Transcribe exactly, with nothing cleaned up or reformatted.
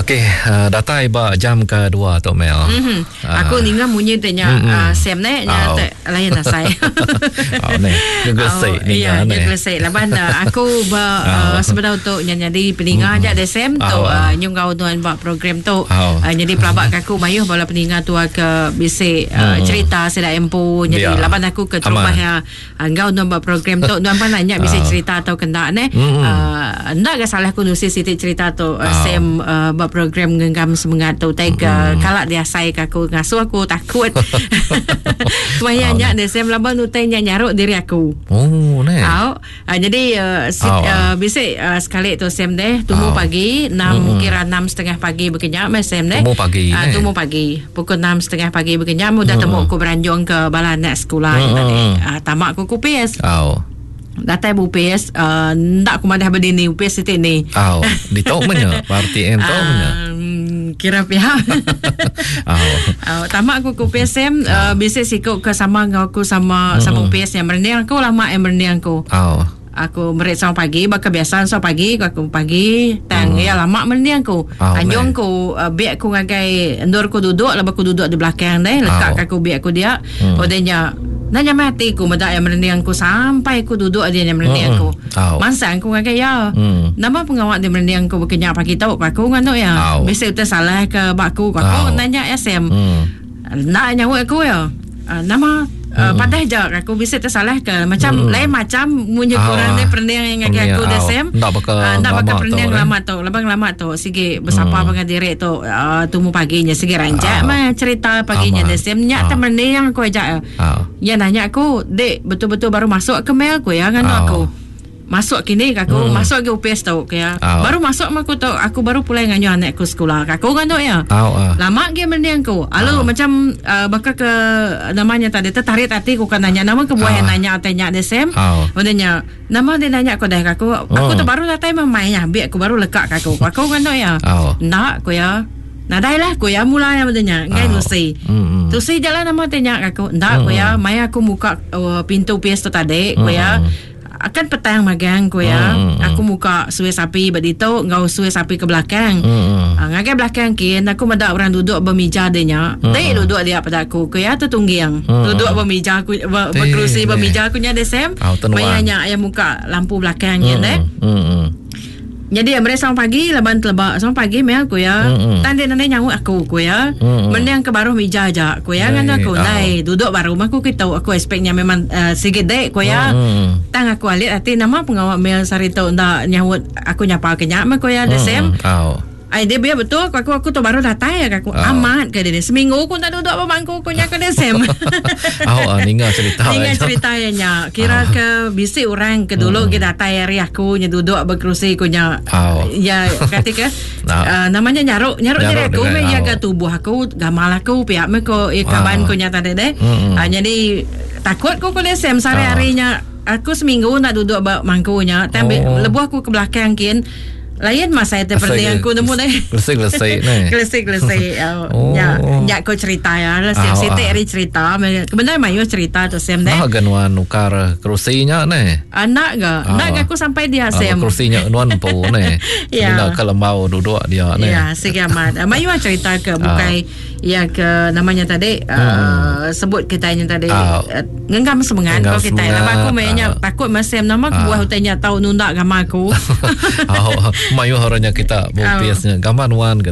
Okey, uh, datai ba jam kedua tu Mel. Mm-hmm. Uh. Aku ninga munyi te nya mm-hmm. uh, Sam ne nya te lain asai. Oh ne, ngegesik ninga ne. Ngegesik laban uh, aku ba uh, sebedau tu nya nyadi peninga aja mm-hmm. de Sam tu uh, nyungau tuan ba program tu. Uh, jadi pelabak aku mayuh bala peninga tua ke bisi uh, mm. cerita sida empu jadi yeah. Laban aku ke terubah ya enggau nuan ba program tu nuan pan nanya bisi cerita atau kena ne. Mm-hmm. Uh, ndak ga salah aku nulis siti cerita tu uh, Sam uh, ba program ngenggam semangat tu tai ke mm. kalak diasai ke aku ngasuh aku takut. Maya nya de Sam laban utai nya nyaruk diri aku. Oh ne. Au. Uh, jadi uh, sit, oh. uh, bisi uh, sekali tu Sam deh tumu oh. pagi enam mm. kira enam setengah pagi bekenya meh Sam deh. Tumu pagi. Uh, tumu pagi pukul enam setengah pagi bekenya udah mm. temu aku beranjung ke bala anak sekolah mm. tadi. Uh, tamak aku kupis. Oh. Datai bupis uh, ndak aku madah berdini upis sitik ni. Oh, ditok menya R T M tok menya. Kira pihak. Oh. Uh, tamak aku ku P S M uh, bisi sikuk ke sama ngau aku sama mm-hmm. sama U P S yang merenang aku lama yang merenang aku. Oh. Aku merik sama pagi baka biasa sama pagi aku pagi tang mm. ya lama merenang aku. Oh, Anjung ku uh, biak aku ngagai endur aku duduk lepas aku duduk di belakang deh lekat oh. aku biak aku dia. Mm. Odenya nanya mati aku medak yang merenang aku sampai aku duduk dia yang merenang aku. Oh. Mansang aku ngagai ya. Mm. Nama pengawak dia merenang aku berkenyak pagi tau aku nganu ya. Oh. Biasa utai salah ke bak aku aku oh. nanya S M. Mm. Nak nyawa aku ya. Uh, nama Uh, padah je aku bisa tersalah ke macam mm. lain macam munyi oh, kurang dia perenang yang ngagai aku oh. Sam. Ndak bakal uh, ndak bakal perenang lama lama tu labang lama tu sige bersapa mm. dengan diri tu uh, tumu paginya sige rancak oh. mah cerita paginya oh, dia Sam nyak oh. te merenang aku aja. Oh. Ya nanya aku dek betul-betul baru masuk ke mail aku ya nganu oh. aku. Masuk kini aku mm. masuk ke U P S tu ya. Oh. Baru masuk aku tu aku baru pulai nganyo anak aku sekolah. Aku nganu ya. Oh, uh. Lama ge mending aku. Alu oh. macam uh, bakal ke namanya tadi tertarik hati aku kan nanya nama ke buah oh. nanya tanya de Sam. Oh. Udahnya nama dia nanya aku dah aku oh. aku tu baru datang main ya biar aku baru lekak aku. Aku nganu ya. Oh. Nak aku ya. Nadai lah aku ya mula yang udahnya ngai oh. nusi. Mm-hmm. Tusi jalan nama tanya aku. Ndak aku ya, maya aku muka uh, pintu P S tu tadi aku ya. Akan petang magang ku ya. Mm, mm. Aku muka suai sapi berdito ngau suai sapi ke belakang. Mm, mm. Uh, ngagai belakang kin aku medak orang duduk bermeja dia nya. Mm. Dek duduk dia pada aku ku ya tertungging. Mm. Duduk bermeja aku ber, berkerusi bermeja aku nya desem. Oh, Maya nya yang muka lampu belakang kin mm, eh. Mm, mm. Jadi mereka sama pagi laban telebak sama pagi mel aku ya. Mm-hmm. Tan dia nanya nyawa aku aku ya. Mm-hmm. Mending ke baru meja aja aku ya ngan aku oh. nai duduk baru mah aku kita aku expectnya memang uh, sikit dek aku ya. Mm-hmm. Tang aku alit hati nama pengawak mel sari tu ndak nyawut aku nyapa kenyak mah aku ya the same. Oh. Ai dia biar betul aku aku, aku tu baru datang ya aku oh. amat ke dia seminggu aku tak duduk apa bangku aku nya ke dia sem. Oh, ninga cerita. Ninga cerita ya nya. Kira oh. ke bisi orang ke dulu mm. ke datang hari aku nya duduk berkerusi aku nya. Oh. Ya kata ke no. uh, namanya nyaruk nyaruk diri aku me ya oh. ke tubuh aku gamal aku pihak me ko ya kaban oh. ku nya tadi deh. Mm. Uh, jadi takut ku ke dia sem sehari-harinya aku seminggu nak duduk ba mangkunya. Tapi oh. lebuh aku ke belakang kin lain masa itu seperti yang aku nemu deh. Gelesik-gelesik ni. Gelesik-gelesik. Oh. Ya, ya kau cerita ya. Lah Oh, sitik ah. hari cerita. Kebenaran mayu cerita tu sem deh. Nah, ganuan nukar kerusinya ni. Anak ga? Ah. Nak ga aku sampai dia Ah, sem. kerusinya nuan empu ni. Ya. Bila kalau mau duduk dia ni. Ya, segamat. Mayu cerita ke bukai ya ke namanya tadi uh, sebut kitanya tadi Ah. uh, ngenggam semangat Ngenggam kau kita. semangat. Lama aku mainnya Ah. takut masem nama Ah. buah hutanya tahu nundak gambar aku. Oh, mayu orangnya kita Ah. bupiasnya gambar nuan ke